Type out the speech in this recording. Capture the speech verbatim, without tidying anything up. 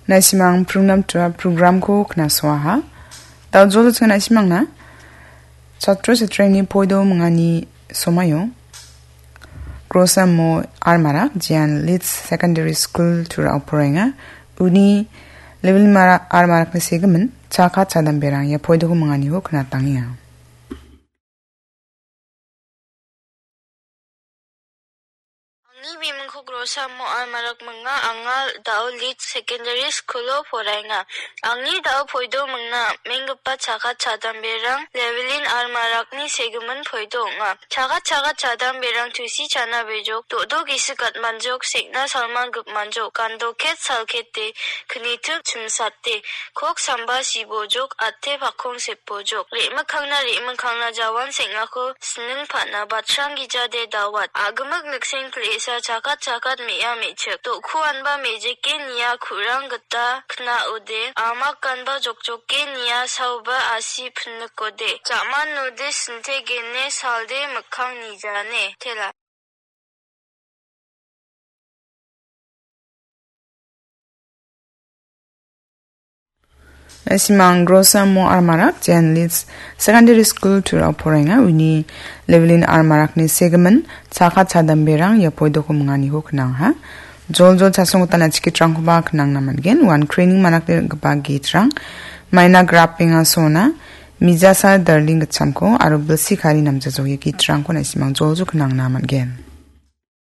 Naisimang prunam tua programko knasoaha. Dao jolo ching naisimangna. Chatro chatreni poido mingani somayo. Grosa mo armarak, Jian Leeds Secondary School tura oporenga. Uni level mara armarak ni segimin, chaka chadam berang, ya poido ko mingani ho knatangia. Angni bimingko Grosa mo almarak minga, anga dao Leeds Secondary School-o poraenga. Angni dao poido mingna menggipa chakat chadamberang Levelin almarakni segimin poido ong·a. Chakat chakat chadamberang tusi chana bejok, do·do gisik gatmanjok, sekna salman gipmanjok, gando ket salkete, knitik chimsate, kok samba sibojok, ate pakkong sepojok, re·mikkangna re·mikkangna jawan seng·ako sining pa·na batrang gijade dawat. A·gimik nikseng pil·esa chakat chakat me·a me·chik. Do·ku anba mejike nia ku·rang gita kna·ode. Amak ganba jokjoke nia saoba asi pinikode. Ja·manode sintegene salde mikkang nijane. Tela. Simang Grosa mo armarak, Jen Leeds Secondary School tura poraenga, uni Levelin armarakni segimin, chaka chadamberang, ya poidoko minganiho knangha. Jol jol chasong utana chikitrangkoba knangna man·gen, wan training manakde gipa gitrang, maina grappenga sona, mijasa darling gitchamko, aro bilsi kari namjajok ia gitrangko naisimang jol jol knangna man·gen.